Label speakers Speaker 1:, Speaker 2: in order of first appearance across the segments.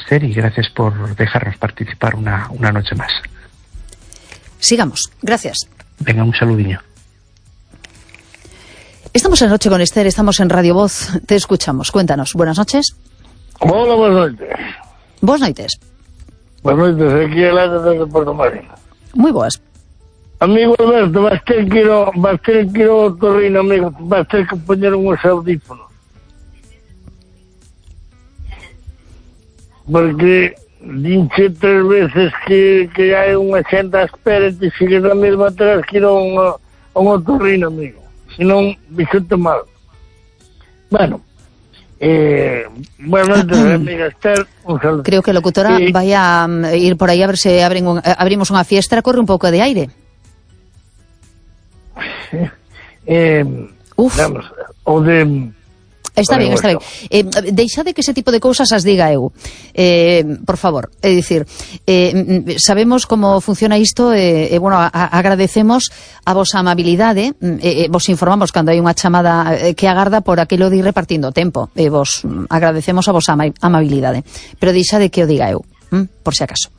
Speaker 1: placer y gracias por dejarnos participar una noche más.
Speaker 2: Sigamos, gracias.
Speaker 1: Venga, un saludinho.
Speaker 2: Estamos en Noche con Esther, estamos en Radio Voz, te escuchamos, cuéntanos. Buenas noches.
Speaker 3: Hola, buenas noches.
Speaker 2: Buenas noites.
Speaker 3: Buenas noites, aquí el aire desde Porto Marino.
Speaker 2: Muy boas.
Speaker 3: Amigo Alberto, vas ter que ir ao Torrino, amigo, vas ter que poñer uns audífonos. Porque dinche 3 veces que hai unha xente a espera e te sigues a mesma atrás que ir a un Torrino, amigo. Si non, bixote mal. Bueno, bueno, amiga Esther, un saludo.
Speaker 2: Creo que a locutora vai a ir por aí a ver se abrimos unha fiestra, corre un pouco de aire.
Speaker 3: Vamos, o de...
Speaker 2: Está ben. Deixade que ese tipo de cousas as diga eu, por favor. É dicir, sabemos como funciona isto e bueno, agradecemos a vosa amabilidade, vos informamos cando hai unha chamada que agarda por aquilo de ir repartindo o tempo, e vos agradecemos a vosa amabilidade, pero deixade que o diga eu, por si acaso.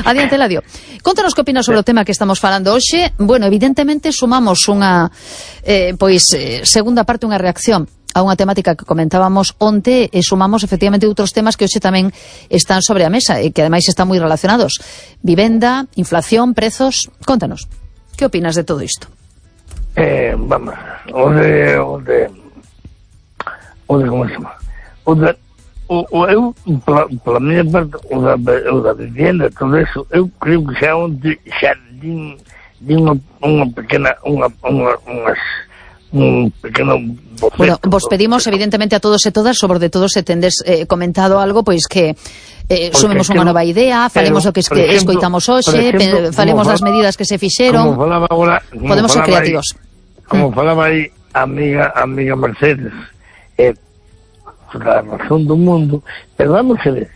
Speaker 2: Adiante, Eladio. Contanos que opinas sobre o tema que estamos falando hoxe. Bueno, evidentemente sumamos unha segunda parte, unha reacción a unha temática que comentábamos onte e sumamos efectivamente outros temas que hoxe tamén están sobre a mesa e que ademais están moi relacionados. Vivenda, inflación, prezos. Contanos, que opinas de todo isto?
Speaker 3: Vamos, o de como se chama? Eu, pela minha parte, o da vivenda, todo isso, eu creio que já de uma pequena, un pequeno boceto.
Speaker 2: Bueno, vos pedimos evidentemente a todos e todas, sobre de todo se tendes comentado algo, pois que sumemos unha nova idea, falemos o que escoitamos hoxe, falemos das medidas que se fixeron. Podemos ser creativos.
Speaker 3: Como falaba aí a amiga Mercedes, la razón do mundo, pero vamos a ver,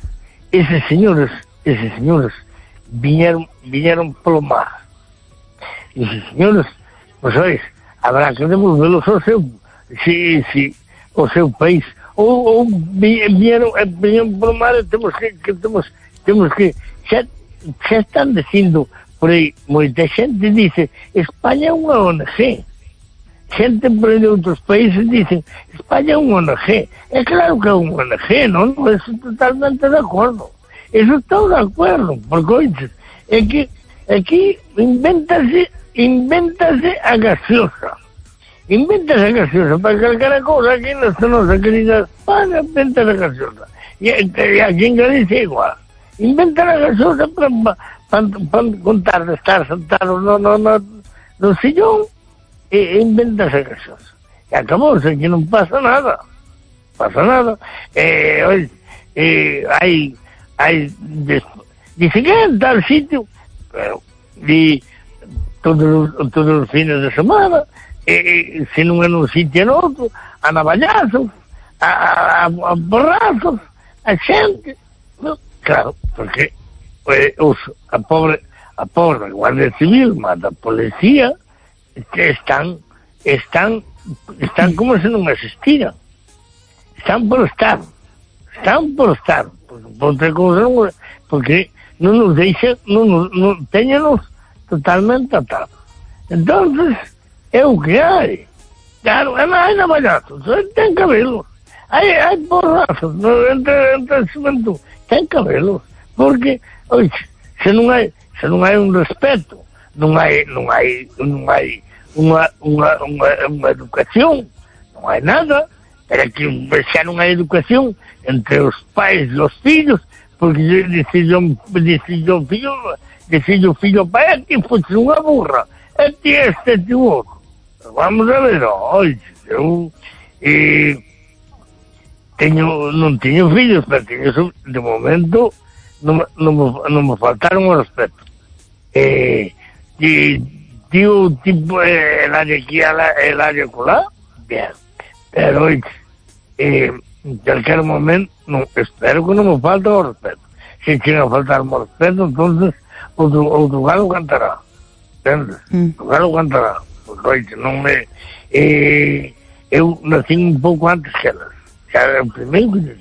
Speaker 3: esos señores viñeron polo mar. Esos señores, pues sabes, habrá que devolverlos ao seu país, ou viñeron polo mar e temos que xa están dicindo por aí, moita xente dice España é unha ONG. Xente por aí de outros países dicen España é un ONG. É claro que é un ONG, non? Eso totalmente de acordo. Eso estou de acordo, porque oiches, é que aquí invéntase a gaseosa. Inventase a gaseosa para calquera cousa aquí nesta nosa querida España, inventase a gaseosa. E aquí en Galicia igual. Inventan a gaseosa para contar de estar sentados no sillón. Inventas a gaseosa e acabou, que non pasa nada, oye, dice que en tal sitio, pero todos os fines de semana, se non é nun sitio en outro, a navallazos, a borrazos, a xente, no, claro, porque a pobre Guardia Civil mata a policía, que están como se non existiran. Están por estar, porque outra cousa non, porque non nos deixa, non teñenos totalmente atados. Entonces, é o que hai. Claro, hai navallazos, ten que habelos. Hai porrazos entre a xuventud, ten que habelos. Porque, oye, se non hai un respeto, non hai unha educación, non hai nada, pero que xa non hai educación entre os pais e os fillos, porque dicillo fillo pai, ti foste unha burra, e ti outro. Vamos a ver, oi, eu non teño fillos, pero de momento non me faltaron o respeto. Tío, tipo, el área aquí, el área colá, bien. Pero, en cualquier momento, espero que non me falte o respeto. Se chega a faltar o respeto, entonces, outro galo cantará. Entendes? O galo cantará. Porque, non me... eu nací un pouco antes que elas. Xa era o primeiro que